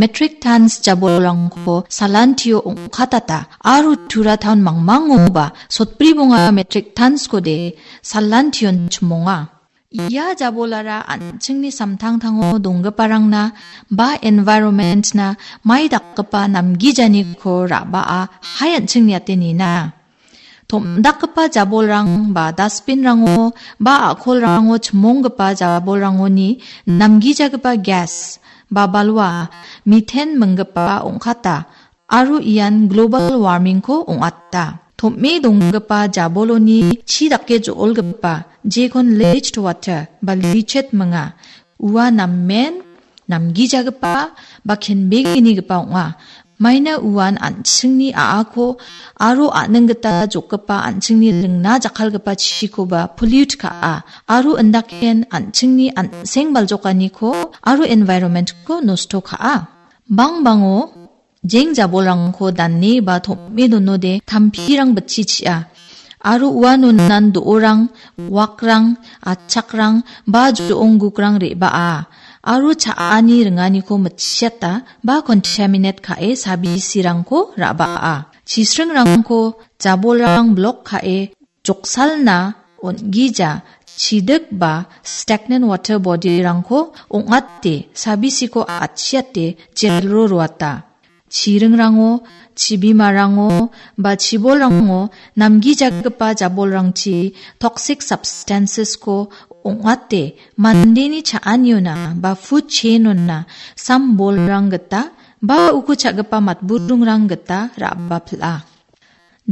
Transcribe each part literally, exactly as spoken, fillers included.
metric tons jabolrangko salantio ong·katata aro Tura taon mangmangoba sotbri bonga metric tonskode salantion chimonga. Ia jabolara an·chingni samtangtango donggiparangna ba environment-na mai dakgipa namgijaniko ra·baa hai an·ching niate nina. Tom·dakgipa jabolrang ba dustbin-rango ba a·kolrango chimonggipa jabolrangoni namgijagipa gas ba balwa, methane minggipa ong·kata aro ian global warming-ko ong·ata. Tom·e donggipa jaboloni chi dake jo·olgipa, jekon leached water ba leached minga. Ua namen namgijagipa ba kenbegnigipa ong·a. Maina uan an·chingni a·ako aro a·ning gita jokgipa an·chingni ringna jakkalgipa chikoba pollute ka·a. Aro indaken an·chingni an·seng baljokaniko aro environment-ko nosto ka·a. Bangbango jeng jabolrangko dane ba tom·e donode tampirang bitchi chi·a. Aro uanonan do·orang, wakrang, achakrang ba jo·onggukrang re·baa. Aro cha·ani ringaniko mitchiata ba contaminate ka·e sabisirangko ra·baa. Chisringrangko jabolrang blok ka·e joksalna on·gija chidik ba stagnant water body-rangko ong·ate, sabisiko atchiate jelro roata. Chiringrango, chibimarango ba chibolrango namgijagipa jabolrangchi toxic substances-ko ong·ate mandeni cha·aniona ba food chain-ona sam bolrang gita ba uko cha·gipa matburingrang gita ra·bapil·a.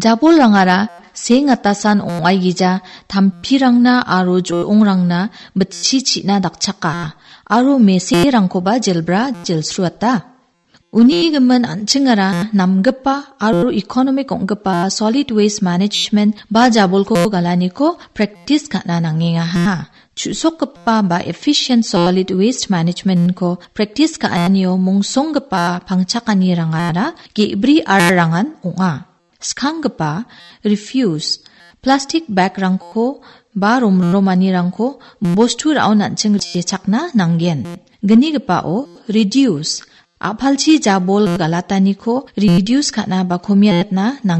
Jabolrangara seng atasan ong·aigija tampirangna aro jo·ongrangna bitchi chi·na dakchaka aro meserangkoba jelbra jelsruata. Uni gimin an·chingara namgipa aro economic ong·gipa solid waste management ba jabolko galaniko practice ka·na nangengaha. Chu·sokgipa ba efficient solid waste management-ko practice ka·anio mongsonggipa pangchakanirangara ge·bri R-rangan ong·a. Skanggipa, refuse, plastic bag-rangko ba romromanirangko bostu ra·on an·ching jechakna nanggen. Gnigipao, reduce, a·palchi jabol galataniko reduce ka·na ba komiatna nang-